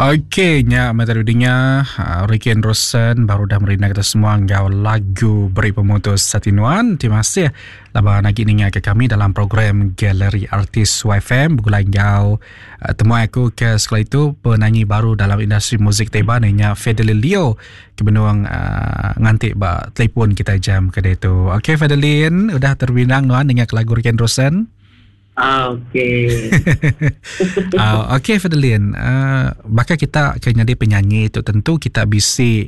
Okey, nya meh tadi dinga ah, Ricky Anderson baru dah merina kita semua enggau lagu Beri Pemutus Sati Nuan. Terima kasih laban agi ninga ke kami dalam program Galeri Artis YFM begulai enggau uh, temuai aku ke sekali itu penyanyi baru dalam industri muzik Taiwan nya Fedeline Leo ke benung uh, nganti ba telefon kita jam ke tu. Okey Fedeline, udah terbinang nuan ninga ke lagu Ricky Anderson? Ah, okey. Ah, okey Fedeline, uh, baka kita ke nyadi penyanyi tu tentu kita bisi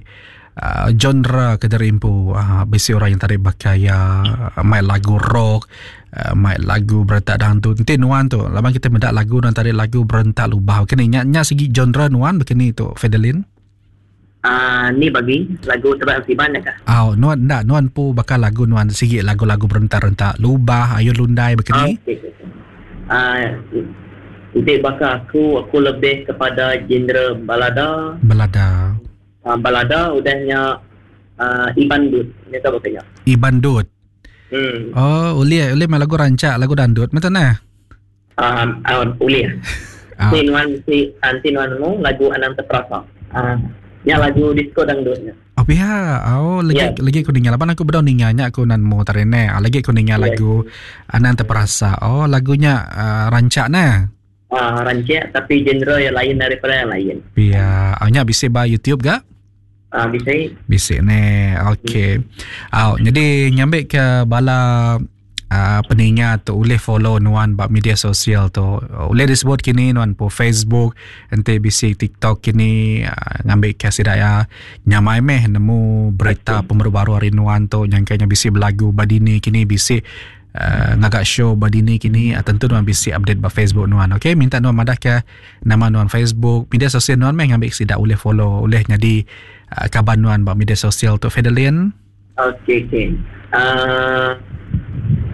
uh, genre ke diri empu. Uh, bisi orang yang tadi baka ya mai lagu rock, uh, mai lagu berentak dangdut. Enti nuan tu, laban kita meda lagu nuan tadi lagu berentak lubah. Kini nya nya sigi genre nuan bekeni tu Fedeline? Ah, ni bagi lagu Tebak Ensiban nya kah? Au, nuan enda nuan empu baka lagu nuan sigi lagu-lagu berentak-rentak lubah ayun lundai baka ni. Okey. Ah, enti baka aku, aku lebih kepada genre balada. Balada. Ah, balada udah nya ah, Iban Dut. Nya tau baka nya. Iban Dut. Hmm. Oh, ulih ulih meh lagu rancak lagu dandut meh tu neh. Ah, uh, ulih. Ah. Enti nuan si enti nuan nemu lagu Anang Terperasa. Ah, nya lagu disco dangdut nya. Oh pia. Oh lagi yeah. lagi aku ninga laban aku bedau ninga nya aku nan mo tadi ne. Ah, lagi aku ninga yeah. lagu Anang Terperasa. Oh lagunya uh, rancak ne. Ah, rancak tapi genre yang lain daripada yang lain. Pia. Oh nya bisi ba YouTube ga? Ah, bisi. Bisi ne. Okey. Hmm. Oh, jadi ngambil ke bala uh, peninga tu ulih follow nuan ba media sosial tu. Ulih disebut kini nuan po Facebook, enti bisi TikTok kini uh, ngambil ke sida ya nyamai meh nemu berita okay. pemeru baru hari nuan tu nyangkanya bisi belagu ba dini kini bisi uh, ngaga show ba dini kini uh, tentu nuan bisi update ba Facebook nuan. Okey, minta nuan madah ke nama nuan Facebook, media sosial nuan meh ngambil sida ulih follow, ulih nyadi uh, kaban nuan ba media sosial tu Fedelin. Okey okey. Uh,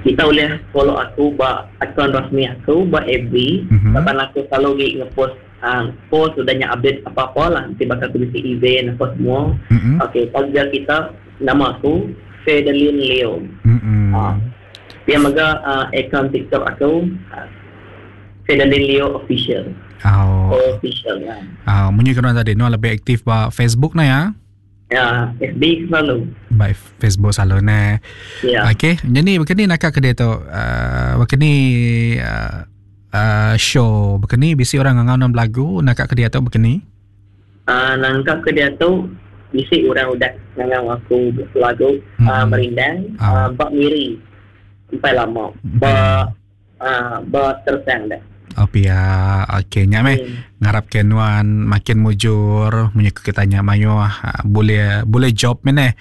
kita ulih follow aku ba akaun rasmi aku ba FB mm-hmm. laban aku selalu gi ngepost uh, post udah nya update apa-apa lah nanti bakal aku bisi event apa semua. Mm-hmm. Okey, tagja kita nama aku Fedelin Leo. Mm-hmm. Uh, dia mega uh, akaun TikTok aku uh, Fedelin Leo Official. Oh. Official ya. Ah, uh, munyi kena tadi nuan lebih aktif ba Facebook na ya. Ya, FB selalu. Ba Facebook selalu ne. Ya. Okey, jadi begini nak ke dia tu. Uh, begini uh, uh, show begini bisi orang ngangau nam lagu nak ke dia tu begini. Uh, nangkap ke dia tu bisi orang udah ngangau aku lagu hmm. uh, merindang uh. Uh, bak miri sampai lama. Ba Hmm. Ba tersang dah. Oh pia, okey nya meh. Hmm. Ngarap ke nuan makin mujur munyi ku kita nya mayuh ah, boleh boleh job meh neh.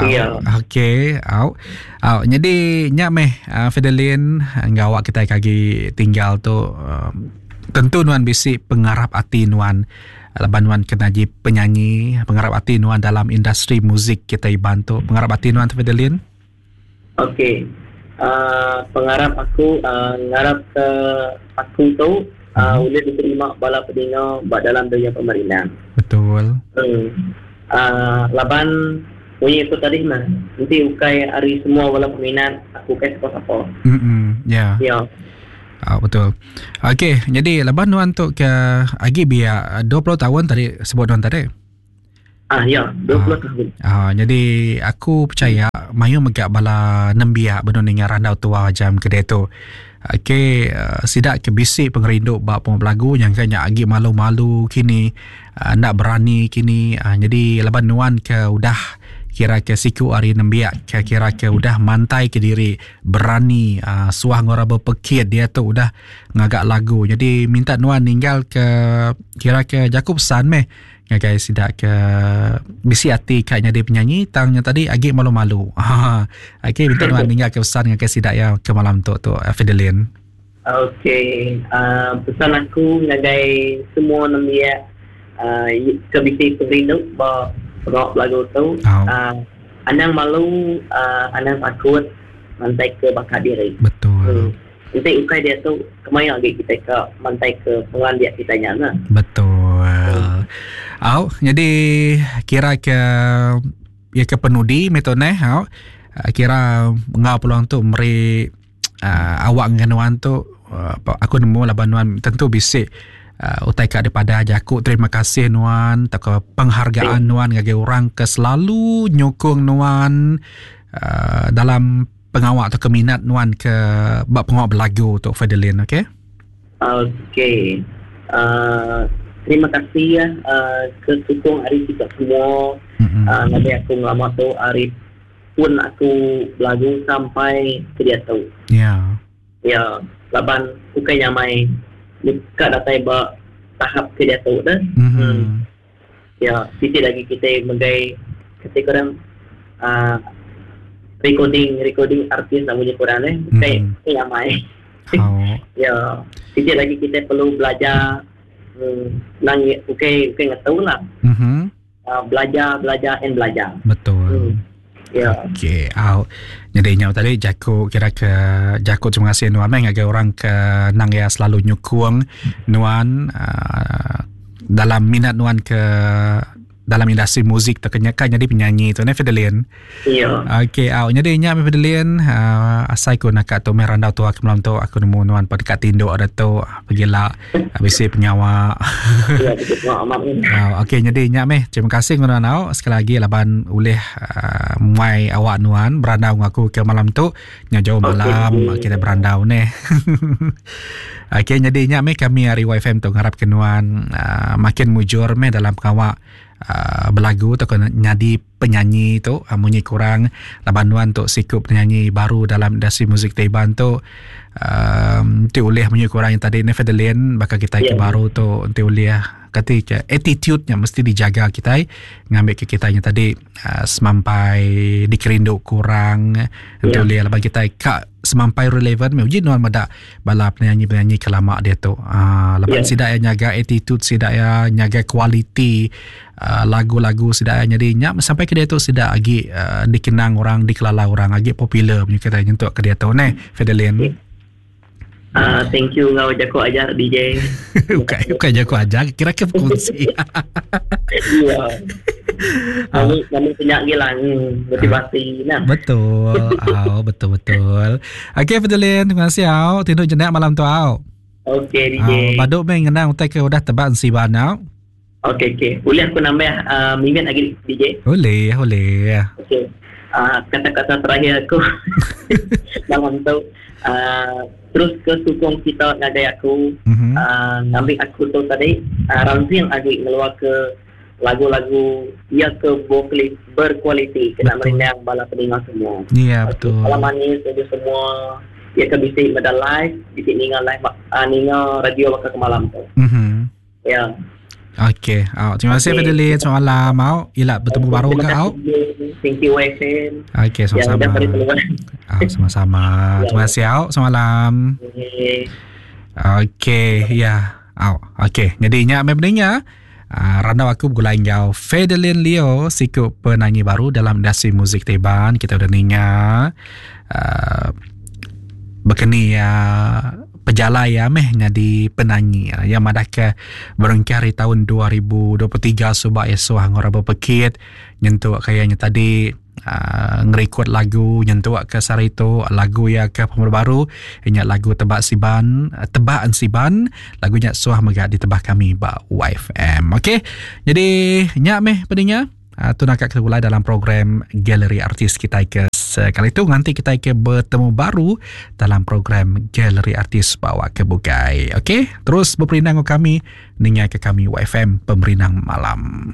Ya. Okey, au. Au jadi nya meh ah, Fedelin enggau awak kita agi tinggal tu um, tentu nuan bisi pengarap ati nuan laban nuan kena ji penyanyi pengarap ati nuan dalam industri muzik kita Iban tu pengarap ati nuan tu Fedelin. Okey. Uh, pengarap aku uh, ngarap ke aku tu uh, hmm. boleh diterima bala peninga ba dalam dunia pemerintah. Betul. Hmm. Uh, laban bunyi aku tadi mah nanti ukai hari semua bala peminat aku kai siapa-siapa. Hmm. Ya. Yeah. Ya. Ah, betul. Okey, jadi laban nuan tu ke agi biak 20 tahun tadi sebut nuan tadi. Ah ya, 20 ah, tahun. Ah, jadi aku percaya mayuh mega bala nembiak benung ninga randau tua jam ke diatu. Okey, uh, sida ke bisi pengerindu ba pengawa belagu nyangka nya agi malu-malu kini, uh, enda berani kini. Uh, jadi laban nuan ke udah kira ke siku ari nembiak ke kira ke udah mantai ke diri berani uh, suah enggau orang bepekit diatu udah ngaga lagu. Jadi minta nuan ninggal ke kira ke jaku pesan meh ngagai sida ke bisi ati ka nyadi penyanyi tang nya tadi agi malu-malu. Ha. Okey minta nuan ninggal ke pesan ngagai sida ya ke malam tu tu eh, Fidelin. Okey, uh, pesan aku ngagai semua nembiak uh, ke bisi pengerindu ba pengawa belagu tu, Oh. uh, anang malu, uh, anang takut mantai ke bakat diri. Betul. Hmm. Enti ukai diatu, kemaya agi kitai ka mantaika pengelandik kitai nya nah. Betul. Au, jadi kira ke ya ke penudi meh tu neh au. Kira enggau peluang tu meri uh, awak dengan nuan tu uh, aku nemu laban nuan tentu bisi. Uh, utai ka daripada jaku terima kasih nuan atau penghargaan yeah. nuan ngagai orang ke selalu nyukung nuan uh, dalam pengawa atau keminat nuan ke bak pengawa belagu tu Fedelin, okey? Okey. Uh, terima kasih ya uh, ke sukung hari kita semua. Mm-hmm. Uh, ngagai aku ngelama tu hari pun aku belagu sampai ke dia tu. Ya. Yeah. Ya, laban bukan nyamai dekat datai ba tahap ke dia tu dah. Mm-hmm. Ya, siti lagi kita megai ketika orang recording recording artis nak punya kurang eh, bukan mm. nyamai. Oh. Ya, siti lagi kita perlu belajar nang bukan bukan tahu lah. Belajar, belajar and belajar. Betul. Ya. Okey, au. Jadi nyau tadi jaku kira ke jaku terima kasih nuan meh ngagai orang ke nang ya selalu nyukung nuan dalam minat nuan ke dalam industri muzik tu kenya kan jadi penyanyi tu ne Fedelin. Ya. Okey, au. Jadi nya Fedelin asai ku nak tu meh randau tua ke malam tu aku nemu nuan pada dekat tinduk ada tu pegila bisi pengawa. Ya, betul amat ni. Okey, jadi nya meh terima kasih nuan au sekali lagi laban ulih muai awak nuan berandau dengan aku ke malam tu nya jauh malam okay. Kita berandau ne. Okey, jadi nya meh kami hari YFM tu ngarap ke nuan makin mujur meh dalam pengawa belagu tu kena nyadi penyanyi tu munyi kurang laban nuan tu sikup penyanyi baru dalam industri muzik Taiban tu ti ulih munyi kurang yang tadi ni Fedelin bakal kita yeah. ke baru tu ti ulih kati ke attitude-nya mesti dijaga kita ngambil ke kita yang tadi semampai dikerindu kurang yeah. ti ulih laban kita ka semampai relevan me uji nuan meda bala penyanyi-penyanyi ke lama dia tu laban yeah. sida ya nyaga attitude sida ya nyaga kualiti lagu-lagu sida ya jadi nya sampai ke dia tu sida lagi dikenang orang dikelala orang lagi popular punya kita nyentuk ke dia tu ne Fedelin. Yeah. Thank you ngau jago ajar DJ. Bukan jago ajar, kira ke berkongsi. Iya. Kami punya gila motivasi nah. Betul. Au, betul betul. Okey Fedelin, terima kasih au. Tidur jenak malam tu au. Okey DJ. Baduk meh ngenang utai ke udah tebak ensiban au. Okey okey. Boleh aku nambah minit lagi DJ? Boleh, boleh. Okey. Kata-kata terakhir aku malam tu terus ke sukong kita ngagai aku ngambil aku tu tadi ranjing lagi ngeluar ke lagu-lagu ya ke vokalis berkualiti kena merindang bala pendengar semua. Ya betul. Salam manis untuk semua ya ke bisi meda live, bisi ninga live ninga radio bakal ke malam tu. Ya. Okey, terima kasih Fedelin. Selamat malam, au. Ila bertemu baru ke au. Thank you YFM. Okey, sama-sama. Sama-sama. Terima kasih au. Selamat malam. Okey, ya. Au. Okey, jadi nya membeningnya randau aku bergulai enggau Fedelin Leo, siku penyanyi baru dalam industri muzik Taiban. Kita udah ninga berkeni ya pejalai ya meh nyadi penyanyi ya madah ke berengkah hari tahun 2023 subak esok hang orang berpekit nyentuk kayaknya tadi ngerekod lagu nyentuk ke sehari tu lagu ya ke pembaru baru ingat lagu tebak siban tebak ensiban lagunya suah mega ditebah kami ba YFM. Okey, jadi nyak meh pendengar tu nak kita mulai dalam program Galeri Artis kita ke sekali itu nanti kita ke bertemu baru dalam program Galeri Artis bawa ke bukai. Okey, terus berperindang kami ninga ke kami YFM Pemerindang Malam.